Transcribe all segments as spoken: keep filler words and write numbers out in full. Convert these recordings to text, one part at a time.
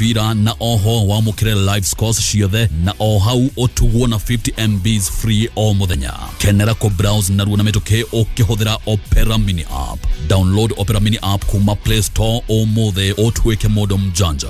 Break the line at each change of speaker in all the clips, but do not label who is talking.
Mĩbira na oho wamũkĩre live scores ciothe na o hau ũtugwo na fifty M Bs free o mũthenya. Kenera kũ browse narua na mĩtũkĩ ũkĩhũthĩra Opera Mini app. Download Opera Mini app kuma Play Store ũmũthĩ ũtuĩke mũndũ mjanja.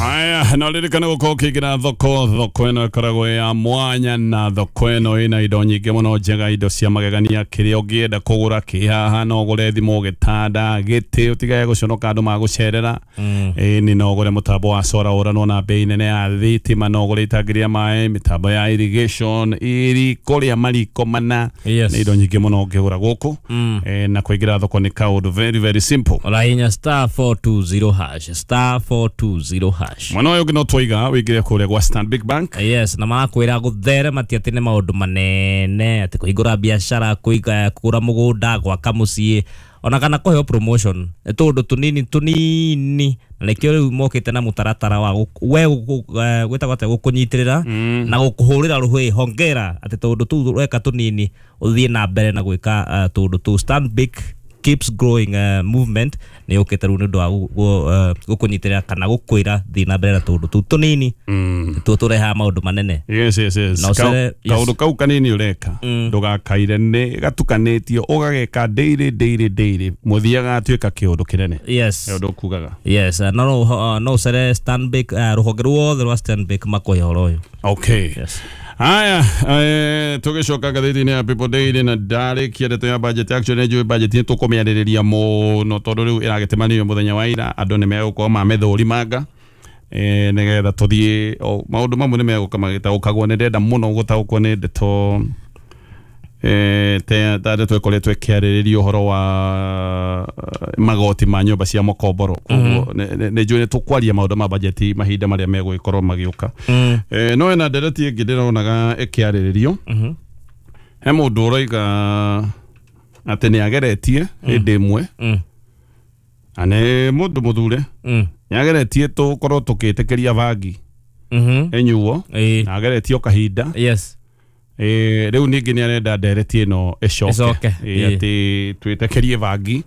Aya, no ririkana gukorwo ũkĩingĩra thoko, thoko ĩno ĩkoragwo ya mwanya na thoko ĩno ĩna indo nyingĩ mũno njega, indo cia magegania, kĩrĩa ũngĩenda kũgũra kĩ haha, no ũgũre thimũ, gĩtanda, gĩtĩ, ũtigage gũconoka andũ magũcerera. Ĩni no ũgũre mũtambo wa solar ũranwo na bei nene ya thitima, no ũgũre itangi rĩa maĩ, mĩtambo ya irrigation, iriko rĩa mariko mana, nĩ indo nyingĩ mũno ũngĩgũra gũkũ. Na kũingĩra thoko nĩ kaũndũ very very simple.
Ũrahihinya star four two zero hash, star four two zero hash.
Mwana ũyũ ũngĩ no twaiga wĩingĩre kũrĩa gwa Stanbic Bank.
Yes, na marakwĩra gũtherema ti atĩ nĩ maũndũ manene, atĩ kũhingũra biacara, kũiga kũgũra mũgũnda, gwaka mũciĩ, ona kana kũheo promotion, nĩ tũũndũ tũnini tũnini, na nĩkĩo rĩu mokĩte na mũtaratara wa we gwĩtagwo atĩa, gũkũnyitĩrĩra na gũkũhũrĩra rũhĩ, hongera atĩ tũũndũ tũu weka tũnini ũthiĩ na mbere na gwĩka tũũndũ tũu. Stanbic keeps growing uh, movement nĩ yũkĩte rĩu nĩ ũndũ wa gũkũnyitĩrĩra kana gũkwĩra thiĩ na mbere na tũũndũ tũu tũnini tũo tũrehaga maũndũ manene.
Yes, yes, yes. Kaũndũ kau kanini ũreka ndũgakaire, nĩ gatukanĩtio ũgageka daily daily daily, mũthiaga atuĩka kĩũndũ kĩnene.
Yes,
nĩ ũndũ ũkugaga.
Yes, no no ũcere Stanbic, rũhonge ruothe rwa Stanbic makũhe ũhoro ũyũ.
Okay.
Yes.
Haya, eh, tũgĩcoka ngathĩti-inĩ ya People Daily na ndarĩkia ndeto ya budget. Actually nĩ njũĩ budget nĩ tũkũmĩarĩrĩria mũno tondũ rĩu ĩragĩtemanio mũthenya wa ira, andũ nĩ megũkorwo mamĩthũrimanga eh, nĩgetha tũthiĩ maũndũ mamwe nĩ megũka magĩtaũkagwo. Nĩ ndĩrenda mũno gũtaũkwo nĩ ndeto eh, ta ndeto ĩkoretwo ĩkĩarĩrĩria ũhoro wa magoti ma nyũmba cia mũkomboro. Koguo nĩ njũĩ nĩ tũkwaria maũndũ ma budget mahinda marĩa megũgĩkorwo magĩũka. No ĩna ndereti ĩngĩ ndĩronaga ĩkĩarĩrĩrio, he mũndũ ũroiga atĩ nĩ ageretie hĩndĩ ĩmwe, na nĩ mũndũ mũthure, nĩ ageretie tũkorwo tũkĩtĩkĩria bangi ĩnyuo, na ageretie o kahinda.
Yes.
Eh, rĩu ningĩ nĩ arenda ndereti ĩno ĩcoke atĩ twĩtĩkĩrie bangi,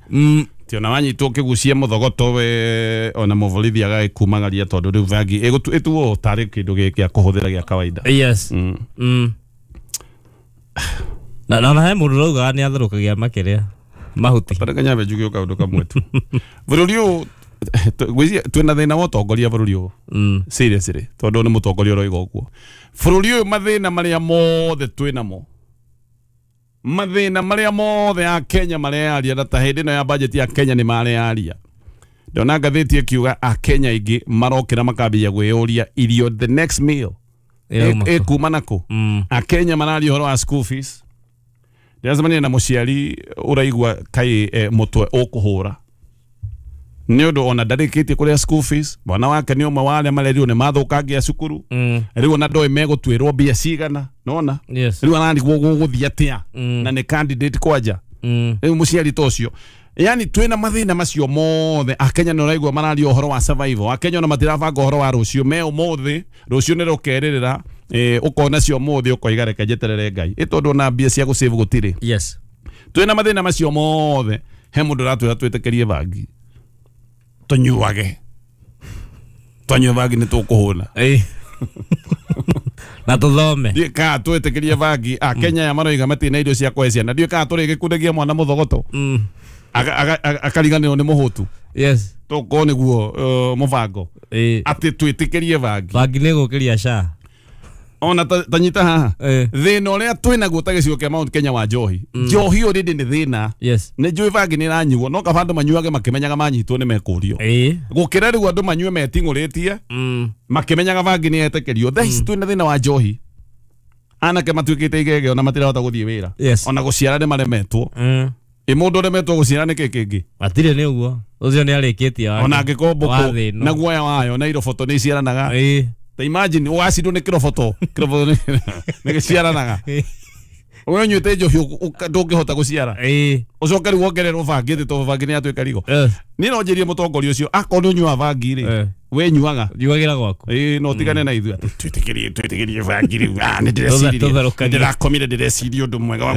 ti ona wanyitwo ũkĩgucia mũthogoto we ona mũborithi agagĩkumagaria tondũ rĩu bangi ĩtuo tarĩ kĩndũ gĩa kũhũthĩra gĩa kawaida.
Yes. Mm. Na na he mũndũ ũraugaga nĩ atherũkagia makĩria mahuti.
Tareke nyambe njuge o kaũndũ kamwe tu. Bũrũri ũyũ ngwĩciria twĩna thĩna wa ũtongoria bũrũri ũyũ. Seriously, tondũ nĩ mũtongoria ũroiga ũguo. Bũrũri ũyũ mathĩna marĩa mothe twĩnamo, mathĩna marĩa mothe a Kenya mareyaria, na ta hĩndĩ ĩno ya budget ya Kenya nĩ mareyaria. Ndona ngathĩti ĩkiuga a Kenya aingĩ marokĩra makambia kwĩyũria irio the next meal ĩkuma nakũ. A Kenya mararia ũhoro wa school fees. Ndĩracemania na mũciari ũraigua kaĩ mũtwe ũkũhũra nĩ ũndũ ona ndarĩkĩtie kũrĩa school fees, mwana wake nĩ ũmwe wa arĩa marerirwo nĩ mathũkangia cukuru, rĩu ona ndoĩ megũtuĩrwo mbia cigana, nona rĩu ararigwo gũgũthiĩ atĩa na nĩ candidate kwanja. Rĩu mũciari ta ũcio, yani twĩna mathĩna macio mothe. Akenya nĩ ũraigua mararia ũhoro wa survival, Akenya ona matirabanga ũhoro wa rũciũ, me ũmũthĩ rũciũ nĩ rũkerĩrĩra, ũkona cio ũmũthĩ ũkoiga reke njeterere Ngai, ĩ tondũ ona mbia cia gũsave gũtirĩ.
Yes.
Twĩna mathĩna macio mothe, he mũndũ ũratwĩra twĩtĩkĩrie bangi tũnyuage, twanyua bangi nĩ tũkũhũna
na tũthome.
Ndiũĩ kana twĩtĩkĩrie bangi. Akenya aya maroiga matirĩ na irio cia kũhe ciana, ndiũĩ kana tũrĩgĩkundagia mwana mũthogoto akariganĩrwo nĩ mũhũtu.
Yes.
Tũkorwo nĩguo mũbango atĩ twĩtĩkĩrie bangi.
Bangi nĩ gũkĩria SHA.
Ona ta nyita haha thĩna ũrĩa twĩnaguo ta gĩcigo kĩa Mount Kenya wa njohi, njohi already nĩ thĩna.
Yes.
Nĩ njũĩ bangi nĩ ĩranyuo, no kaba andũ manyuage makĩmenyaga manyitwo nĩ mekũrio, gũkĩra rĩu andũ manyue meting'ũrĩtie makĩmenyaga bangi nĩ yetĩkĩrio. Thaa ici twĩna thĩna wa njohi, anake matuĩkĩte igege ona matirahota gũthiĩ wĩra, ona gũciara nĩ maremetwo. Ĩ mũndũ ũremetwo gũciara nĩ kĩ kĩngĩ?
Matirĩ nĩ ũguo, ũcio nĩ arĩkĩtie wake.
Ona angĩkorwo mbũkũ na guoya wayo na iroboto nĩ iciaranaga. Ta imagine ũgacindwo nĩ kĩroboto, kĩroboto nĩ gĩciaranaga. We ũnyuĩte njohi ndũngĩhota gũciara, ũcoke rĩu wongererwo bangi ĩtĩ tondũ bangi nĩ yatuĩka rigo. Niĩ no njĩrie mũtongoria ũcio akorwo nĩ ũnyuaga bangi rĩ, we nyuaga
nyuagĩra gwaku,
ĩĩ no tigane na ithuĩ atĩ twĩtĩkĩrie twĩtĩkĩrie bangi rĩu. Ah, nĩ ndĩreciria ndĩrakomire ndĩreciria ũndũ mwega wa